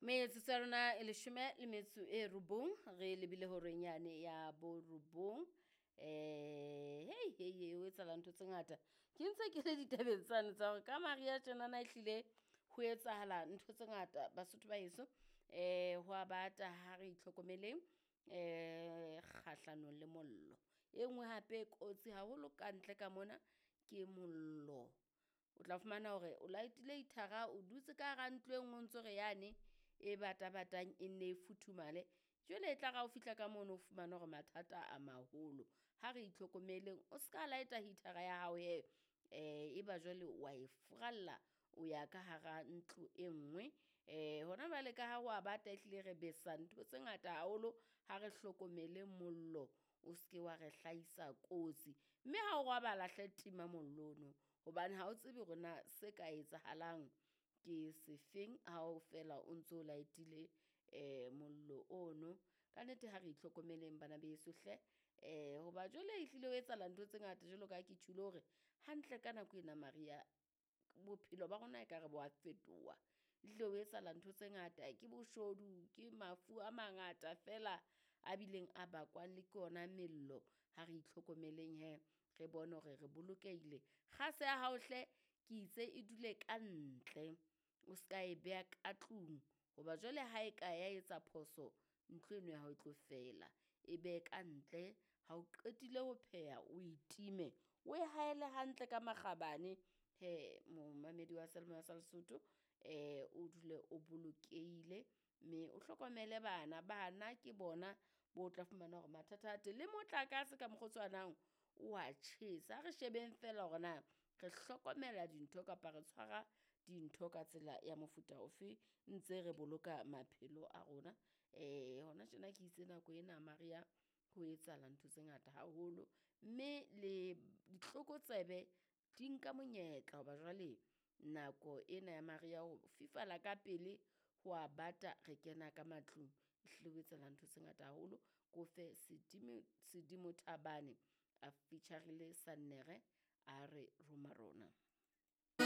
Metsotso ya rona e 19 re lebile horeng yane ya borobong. Hei hei hei, ho etsahala ntho tse ngata. Ke ntse ke le ditabeng tsane tsa hore ka mariha tjenana ehlile ho etsahala ntho tse ngata Basotho ba heso. Ho a bata ha re itlhokomeleng kgahlanong le mollo. E nngwe hape e kotsi haholo kantle ka mona ke mollo. O tla fumana hore o light-ile heater-a, o dutse ka hara ntlo e nngwe o ntso re yane e bata-batang e nne e futhumale. Jwale e tla re ha o fihla ka mono o fumane hore mathata a maholo. Ha re itlhokomeleng, o ska light-a heater-a ya hao hee, eba jwale wa e furalla o ya ka hara ntlo e nngwe. Hona jwale ka ha ho a bata ehlile re besa ntho tse ngata haholo, ha re hlokomele mollo o ske wa re hlahisa kotsi. Mme ha o robala hle tima mollo ono, hobane ha o tsebe hore na se ka etsahalang ke sefeng ha o fela o ntso light-ile mollo ono. Ka nnete ha re itlhokomeleng bana beso hle, hoba jwale ehlile ho etsahala ntho tse ngata jwalo ka ha ke tjhulo hore hantle ka nako ena mariha, bophelo ba rona ekare bo a fetoha. Ehlile ho etsahala ntho tse ngata, ke boshodu, ke mafu a mangata feela a bileng a bakwang le ke ona mello. Ha re itlhokomeleng hee, re bone hore re bolokehile. Kgase ya hao hle ke itse e dule ka ntle, o ska e beha ka tlung hoba jwale ha e ka ya etsa phoso, ntlo eno ya hao e tlo fela. E behe ka ntle, ha o qetile ho pheha o e time, o e haele hantle ka makgabane hee momamedi wa seyalemoya sa Lesotho, o dule o bolokehile mme o hlokomele bana. Bana ke bona bo tla fumana hore mathata a teng le motlakase ka mokgwa o tshwanang o a tjhesa. Ha re shebeng feela hore na re hlokomela dintho kapa re tshwara dintho ka tsela ya mofuta ofe ntse re boloka maphelo a rona. Hona tjena ke itse nako ena mariha ho etsahala ntho tse ngata haholo, mme le ditlokotsebe di nka monyetla hoba jwale nako ena ya mariha ho fifala ka pele, ho a bata re kena ka matlung. Ehlile ho etsahala ntho tse ngata haholo. Ke o fe Sedimo Thabane a feature-rile Sannere a re roma rona.